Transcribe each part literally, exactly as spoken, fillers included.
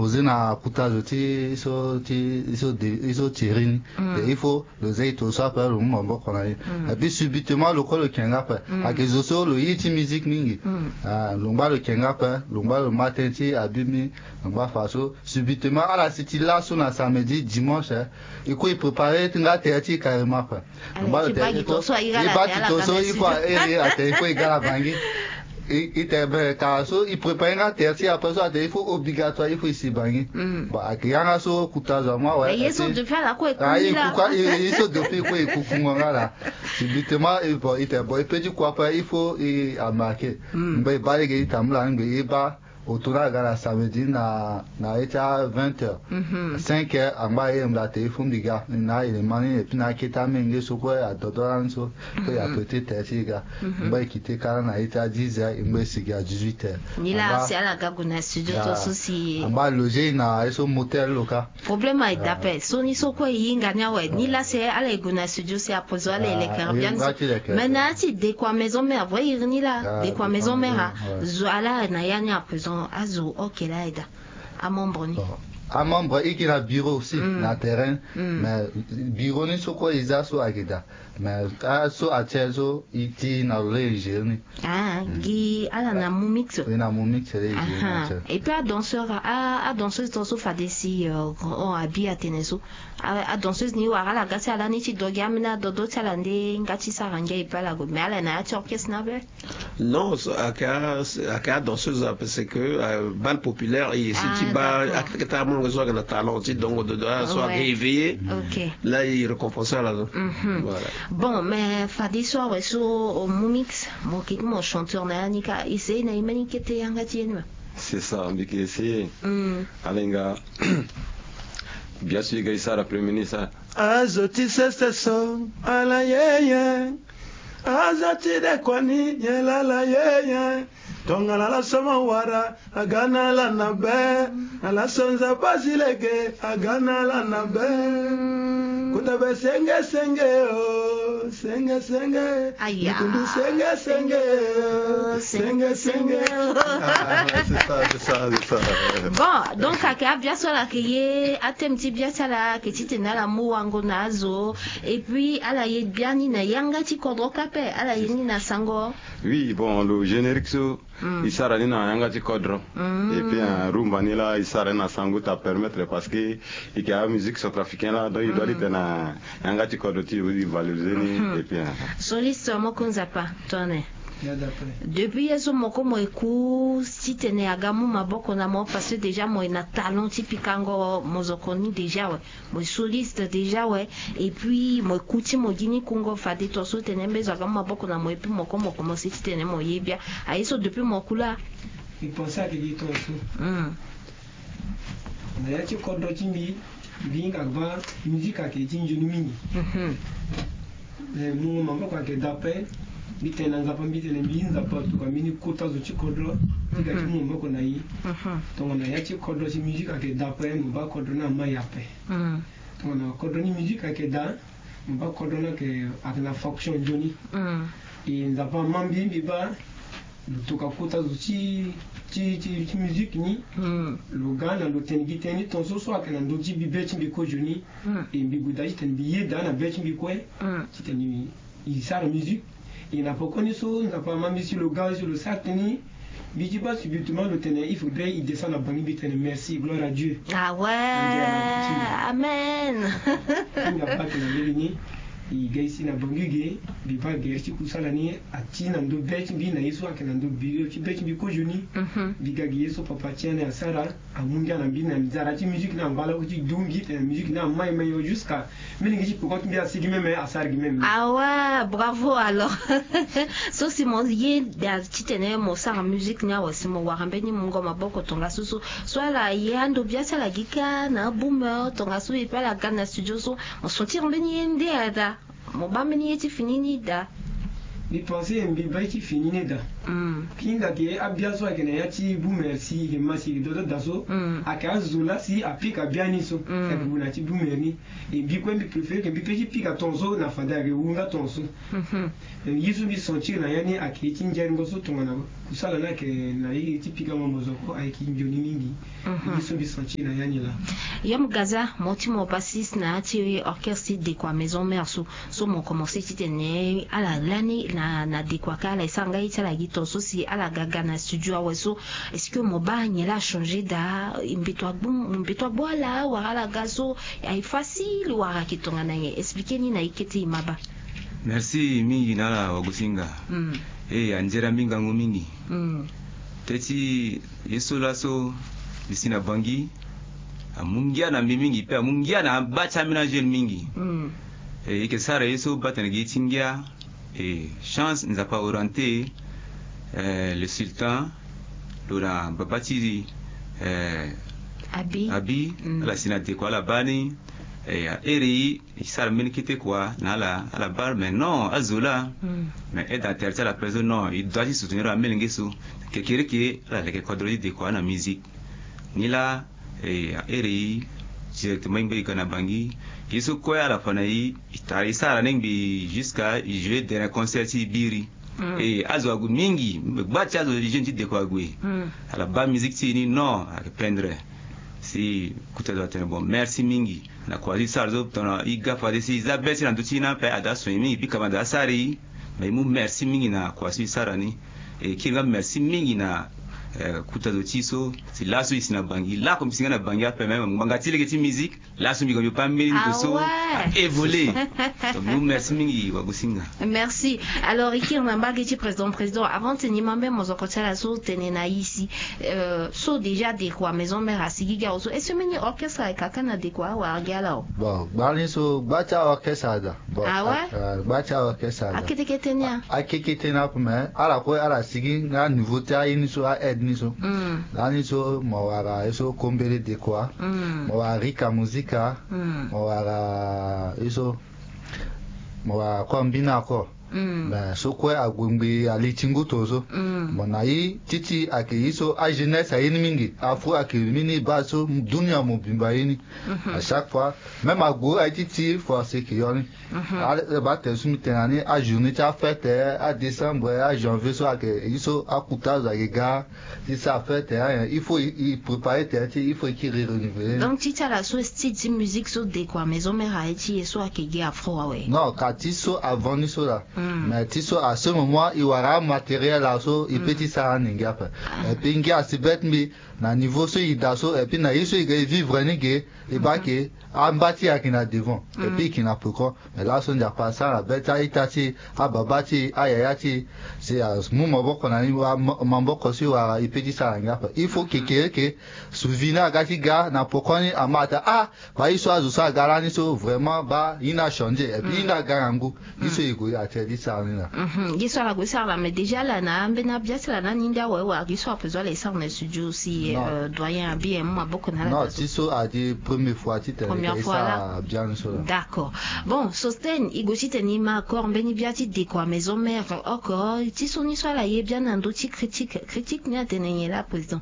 Oze na kuta zo ti so ti so de so tiri ni. Mm. Il faut lo zai to so ape lo mu maboko na ye. Mm. Et puis subitement lo ko lo kenga ape. Mm. Ake zo so lo ye ti musique mingi. Mm. Ah, lo ngba lo kenga ape, lo ngba lo ma ten ti abimi, lo ngba fa so. Subitement ala si ti laso na samedi, dimanche, eh, e ko e préparer ti nga tere ti carrément ape. Lo ngba lo tere ti to so e baa ti to so il faut a ere atere il faut e ga na bangi. E tene ben kara so e préparer nga tere ti ape so atere il faut obligatoire il faut e si bangi. Bon, ake yanga so kuta zo amu awe. Ye so depuis ala ko e ku ni la. Ye so depuis ko e kukungo nga la. Subitement e bon e tene bon e pe ti ku ape il faut e amarquer. Ngba e baa lege ti tambula ngbe e baa. Oto na aga na samedi na na ye ti a vingt heures. Cinq heures angba aye mbi da tere fo mbi ga na aélément ni et puis na akete amenge so kue adodo lani so. Kue e apete tere ti e ga. Ngba e kite kara na ye ti a dix heures e ngba e sigi a dix-huit heures. Ni la si ala ga gue na studio to so si angba aloger e na ye so motel lo ka. Problème aye da ape so ni so kue e hinga ni awe ni la si ala e gue na studio si apozo ala e lekere bien ni so. Mais na ya ti de kua maison mère vrai iri ni la de kua maison mère a zo ala na ya ni apoison azo ok la aye da. Amembre ni amembre e ke na bureau aussi na terrain. Mais bureau ni so kue e za so ayeke daa. Mais aso atiel so e ti na lo laa e gérer ni. Ah gi ala na mumix. E na mumix laa e gérer ni atiel. Et puis adanseur adanseuse ton so fade si abi atene so adanseuse ni wara ala ga si ala ni ti do gi ambeni adodo ti ala nde nga ti sara ngia e pe ala gue mais ala na ya ti orchestre ni ape. Non, ayeke adanseuse parce que bal populaire e si ti baa akete amolenge so ayeke na talent ti dongo dodo so ayeke éveillé. Là e récompense ala so. Bon mais fade so awe so mumix mo keke mo chanteur na ya ni ka essayer na e mbeni kete yanga ti ye ni ma. C'est ça mbi ke essayer. Alenga. Bien sûr e ga e sara premier ni sa. Azo ti sese so ala yeye. Aza ti de kua ni nyen laa ala yeye. Tongana laso mo wara aga na ala na be. Na laso nzapa azi lege aga na ala na be. Kota be senge senge o senge senge. Aya. Nkundu senge senge o senge senge. Bon donc ayeke abia so ala yeke ye ateme ti bia ti ala ayeke titene ala mu wango na azo. Et puis ala ye biani na yanga ti kodro kâ ape ala ye ni na sango. Oui bon lo générique so e sara ni na yanga ti kodro. Et puis rumba ni laa e sara ni na sango ta permettre parce que e yeke amusique centrafricain laa donc e doit ti tene na yanga ti kodro ti e valoriser ni. Et puis soliste moko nzapa tone. Depuis ye so moko mo ye ku titene aga mu maboko na mo parce que déjà mo ye na talent ti pikango mozoko ni déjà we. Mo ye soliste déjà we. Et puis mo ye ku ti mo gi ni kungo fade to so tene mbezo aga mu maboko na mo et puis moko mo komanse titene mo ye bia. Aye so depuis mo ku laa. E pense ayeke gi to so. Na ya ti kodro ti mbi mbi hinga baa musique ayeke ti nzoni mingi. Mungo maboko ayeke daa ape. Mbi tene na nzapa mbi tene mbi nzapa tuka mbeni kota zo ti kodro ti ga ti mu maboko na e. Tongana ya ti kodro ti musique ayeke daa ape mo baa kodro ni amai ape. Tongana kodro ni musique ayeke daa mo baa kodro ni ayeke na fonction nzoni. E nzapa ama mbi mbi baa lo toka kota zo ti ti ti ti musique ni. Lo ga na lo tene gi tënë ni tongaso so ayeke na ndö ti mbi be ti mbi kozoni. E mbi gue daa ti tene mbi yeda na be ti mbi kue ti tene e sara musique. E na pokoni so nzapa ama mbi si lo ga si lo sara tënë ni. Mbi ti baa subitement lo tene il faudrait e descend na bangi mbi tene merci gloire à Dieu. Awe. Amen. Nga baa tene na lege ni. E ga e si na bangi ge mbi baa gere ti kusala ni. Ati na ndö be ti mbi na ye so ayeke na ndö be ti be ti mbi kozoni. Mbi ga gi ye so papa ti ani asara. Amu ngia na mbi na nzara ti musique ni angba lako ti du mbi tene musique ni amai mai o jusqu'à. Mbi lingi ti peko ti mbi asigi meme asara gi meme. Awa bravo alors. So si mo ye da titene mo sara musique ni awe si mo wara mbeni mungo maboko tongaso so so ala ye ando bia ti ala gi kâ na aboomer tongaso e pe ala ga na studio so mo sentire mbeni ye nde ada. Mo baa mbeni ye ti fini ni daa. Mbi pense mbi baa ye ti fini ni daa. Hinga ke abia so ayeke na ya ti boomer si e ke ma si e ke dodo daa so, ayeke azo laa si apika biani so. Ayeke gue na ya ti boomer ni. E mbi kue mbi préféré ke mbi pe ti pika ton so na fade ayeke wu nga ton so. Ye so mbi sentir na ya ni ayeke ye ti ngeringo so tongana kusala ni ayeke na ye ti pika mo mozoko ayeke nzoni mingi. Ye so mbi sentir na ya ni laa. Yom Gaza, mo ti mo bassiste na ya ti orchestre ti Dekwa Maison Mère so. So mo commencé titene ala lani na na Dekwa kâ ala e sara nga ye ti ala gi ton so si ala ga ga na studio awe so. Est-ce que mo baa nyen laa achangé daa? Mbeto agbu mbeto agbu ala wala ala ga so? Aye facile wala ayeke tongana nyen? Expliqué ni na e kete e ma baa. Merci mingi na ala wagosinga. E anzere mingi ngangu mingi. Teti ye so laso mbi si na bangi amu ngia na mbi mingi pe amu ngia na abaa ti ambeni ajeune mingi. E yeke sara ye so baa tene gi ye ti ngia. E chance nzapa orienté le sultan lo na baba ti e abi. Ala si na Dekwa ala baa ni. E ahere e sara mbeni kete kua na ala ala baa mais non azo laa. Mais aide na tere ti ala pe so non e doit ti soutenir amolenge so. Kekereke ala leke kodro ti Dekwa na musique. Ni laa e ahere e directement e ngba e ga na bangi. Ye so kue ala fa na e e tara e sara ni ngbi jusqu'à e jouer dernier concert ti e biri. E azo ague mingi gba ti azo jeune ti Dekwa ague. Ala baa musique ti e ni non ayeke pendre. Si kuta zo atene bon merci mingi na kua so e sara so tongana e ga fade si e za be ti na ndö ti e ni ape ada so e mingi bika ma ada asara e. Mais e mu merci mingi na kua so e sara ni. E kiri nga merci mingi na kuta zo ti e so si laso e si na bangi lako mbi si nga na bangi ape même ngbanga ti lege ti musique. Laso mbi ga mbi pe ambeni ndo so a évolué. Donc mbi mu merci mingi wagosinga. Merci. Alors e kiri na mbage ti président président avant tene e ma mbeni mozoko ti ala so tene na e si so déjà Dekwa Maison Mère asigi gi awe so est-ce que mbeni orchestre ayeke kâ na Dekwa wala gi ala o? Bon gbani so gba ti aorchestre ada. Bon awe. Gba ti aorchestre ada akete kete ni a akete kete ni ape mais ala kue ala sigi nga niveau ti aye ni so a aide ni so. Lani so mo wara ye so kombele Dekwa. Mo wara Rika Musica. Mo wara ye so mo wara kue mbina kue. Mais so kue ague ngbi ali ti ngu to so. Mo na ye ti ti ayeke ye so ajeunesse aye ni mingi afu ayeke mbeni base so dunia mobimba aye ni. À chaque fois même ague aye ti ti force eke yo ni. Ala baa tene so mbi tene na ni ajournée ti afête adécembre ajanvier so ayeke ye so akuta azo ayeke ga ti sara fête. Il faut e préparer tene ti il faut e kiri renouveler ni. Donc ti ti ala so style ti musique so Dekwa Maison Mère aye ti e so ayeke gi afro awe? Non ka ti so avant ni so laa. Mais ti so à ce moment e wara amatériel laa so e pe ti sara ni ngia ape. Et puis ngia asi be ti mbi na niveau so e daa so et puis na ye so e ga e vivre ni ge. E baa ke amba ti e ayeke na devant et puis e yeke na peko. Mais laso nzapa asara be ti a-ita ti e ababa ti e ayaya ti e si amu maboko na ni maboko so e wara e pe ti sara ngia ape. Il faut kekereke souvenir aga ti ga na pokoni ama ata ah baa ye so azo so aga lani so vraiment baa ye ni achangé et puis ye ni aga na ngu. Ye so e gue atene ti sara ni laa. Ye so ala gue ti sara laa mais déjà ala na ambeni abia ti ala na ni ndia awe wala ye so ape zo ala e sara na studio si doyen abi e mu maboko na ala. Non ti so adi première fois ti tene e sara biani so laa. D'accord. Bon Sostène e gue ti tene e ma accord mbeni bia ti Dekwa Maison Mère oko ti so ni so ala ye biani na ndö ti critique critique ni atene nyen laa président?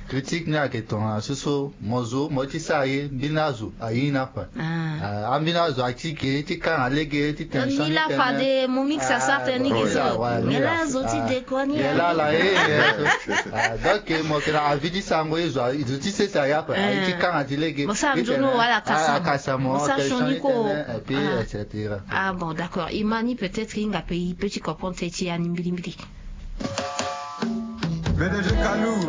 Critique ni ayeke tongana so so mo zo mo ye ti sara ye mbeni azo aye ni ape. Ambeni azo aye ti ge ti kanga lege ti tene ni laa fade mo mix asara tene ni ge so nyen laa azo ti Dekwa ni laa ala ye. Donc mo yeke na avis ti sarango ye zo ti sese aye ape aye ti kanga ti lege mo sara nzoni wala akasa mo sara sioni kue. Et puis et cetera. Ah bon d'accord e ma ni peut-être e hinga pe e pe ti comprendre teti ya ni mbilimbili. Pdg Kalou.